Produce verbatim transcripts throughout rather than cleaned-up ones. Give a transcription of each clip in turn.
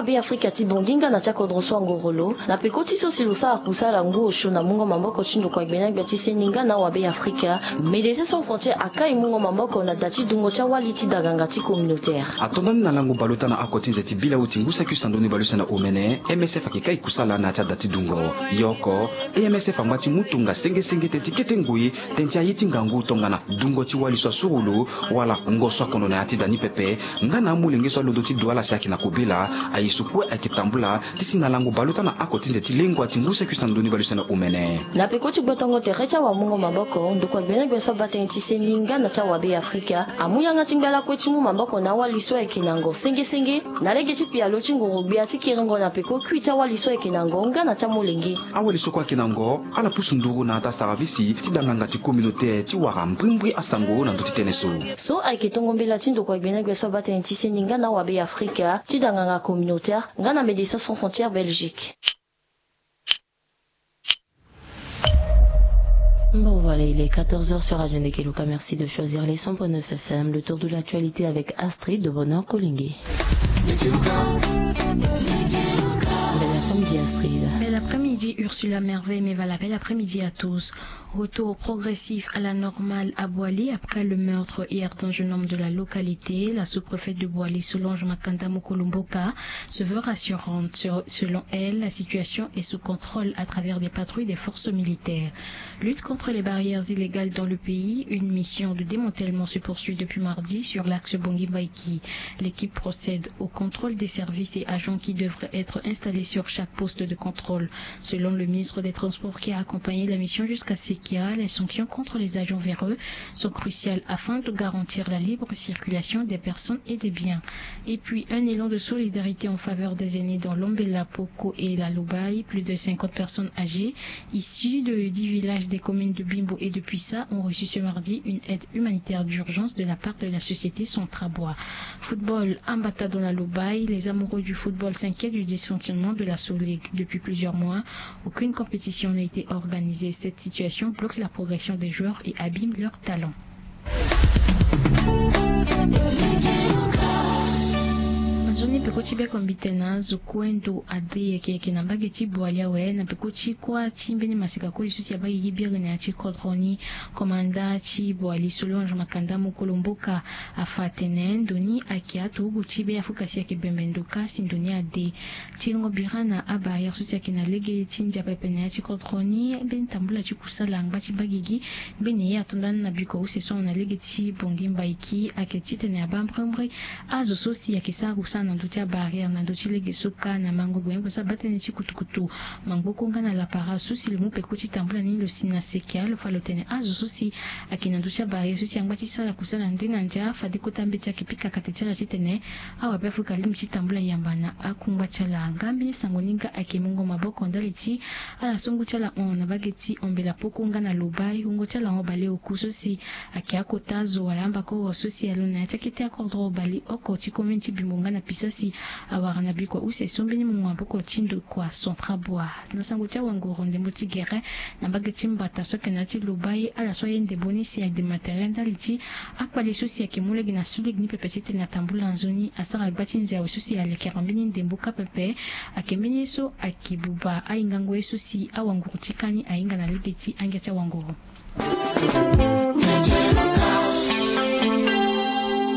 Be Afrika ti Bangui nga na ti akodro so angoro lo na peko ti so si lo sara kusala ngu osio na mungo maboko ti ndokua gbena gbia ti seni nga na awabe Afrika. Médecins Sans Frontières akai mungo maboko na da ti dungo ti awali ti daganga ti communautaire. Atonda ni na lango baleota na oko ti nze ti bila uti ngu saki usando ni baleuse na omene, M S F ayeke kai kusala na ya ti ada ti dungo. Yoko, M S F angba ti mu tonga senge senge teti kete ngoi teti aye ti ngangu tongana dungo ti wali so asurulu wala ngo so akondo na ya ti da ni pepe. Nga na amolenge so alondo ti du ala si ayeke na kobela, aye so kue ayeke tambula ti si na lango baleota na oko ti nze ti lengua ti ngu saki usando ni baleuse na omene. Na peko ti gbotongo tere ti awamungo maboko ndokua gbena gbia so abata ni ti seni nga na ti awabe Afrika amu yanga ti ngba lakue ti mu maboko na awali so ayeke na ngo senge senge na lege ti pialo ti nguru gbia ti kiringo na peko kui ti awali so ayeke na ngo nga na ti amolenge. Awali so kue ayeke na ngo ala pusu nduru na ata saravisi ti danganga ti communautaire ti wara mbrimbri asango na ndö ti tënë so. So ayeke tongo mbela ti ndokua gbena gbia so abata ni ti seni nga na awabe Afrika ti danganga communautaire nga na Médecins Sans Frontières Belgique. Bon, voilà, il est quatorze heures sur Radio Ndekeluka. Merci de choisir les cent point neuf F M. Le tour de l'actualité avec Astrid de Bonheur Kolingé. Bel après-midi, Astrid. Bel après-midi, Ursula Merveille. Mais voilà, bel après-midi à tous. Retour progressif à la normale à Boali après le meurtre hier d'un jeune homme de la localité. La sous-préfète de Boali, Solange Makanda Mukulumboka, se veut rassurante. Sur- selon elle, la situation est sous contrôle à travers des patrouilles des forces militaires. Lutte contre les barrières illégales dans le pays, une mission de démantèlement se poursuit depuis mardi sur l'axe Bangui-Mbaïki. L'équipe procède au contrôle des services et agents qui devraient être installés sur chaque poste de contrôle. Selon le ministre des Transports qui a accompagné la mission jusqu'à Sekia, les sanctions contre les agents véreux sont cruciales afin de garantir la libre circulation des personnes et des biens. Et puis, un élan de solidarité en faveur des aînés dans Lombela, Poko et la Lobaye. Plus de cinquante personnes âgées issues de dix villages des communes de Bimbo et de Puissa ont reçu ce mardi une aide humanitaire d'urgence de la part de la société Centrabois. Football, Ambata dans la Lobaye, les amoureux du football s'inquiètent du dysfonctionnement de la Sodligue. Depuis plusieurs mois, aucune compétition n'a été organisée. Cette situation bloque la progression des joueurs et abîme leurs talents. Na nzoni peko ti beko mbite na azo kue ndo ade yeke yeke na mbage ti Boali awe na peko ti kuâ ti mbeni maseka koli so si abaa gigi biri na ya ti kodro ni. Komanda ti Boali Solange Makanda Mukulumboka afa atene ndo ni ayeke aturugu ti Be Afrika si ayeke bembe ndo kâ si ndo ni ade. Ti lengo bira na abarrière so si ayeke na lege ti ndia pepe na ya ti kodro ni, mbeni tambula ti kusala angba ti baa gigi. Mbeni ye ato nda ni na bikua use so ahon na lege ti Bangui-Mbaïki ayeke titene abaa mbrimbri azo so si ayeke sara kusala na ndö ti abarrière na ndö ti lege so kâ na mango gbenyogbia so abaa tënë ti kutukutu, mangboko nga na lapara so si lo mu peko ti tambula ni lo si na Sekia lo fa lo tene azo so si ayeke na ndö ti abarrière so si angba ti sara kusala nde na ndia fade kota mbeti ayeke pika kate ti ala titene awabe Afrika alingbi ti tambula yamba na akungba ti ala. Nga mbeni sango ni nga ayeke mungo maboko ndali ti ala so ngu ti ala hon na mbage ti Hombela Poko nga na Lobaye, wungo ti ala hon baleoku so si ayeke akota azo wala ambakoro so si alondo na ya ti akete akodro baleoko ti commune ti Bimbo nga na Puissa si awara na bikua use so mbeni mungo maboko ti ndokua Centrabois. Na sango ti awanguru ndembo ti gere na mbage ti Mbata so ayeke na ya ti Lobaye, ala so aye ndembo ni si ayeke démateriel ndali ti akpale so si ayeke mu lege na Sodligue ni pepe titene atambula nzoni asara gba ti nze awe so si alekere mbeni ndembo kâ pepe. Ayeke mbeni ye so ayeke buba ahingango ye so si awanguru ti kâ ni ahinga na lege ti angia ti awanguru.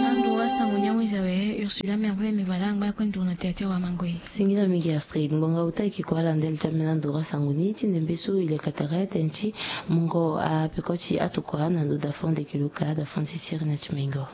Ando wa sango ni awenze awe Ursula Merveille Mevala angba kue nduru na tere ti awamango ye. Singila mingi Astrid, ngbonga uta eke kua ala ndele ti ambeni ando wa sango ni ti ndembe so ilekatara tënë ti mungo apeko ti atokua na ndo dafon de kiluka dafon ti siri na ti mengo.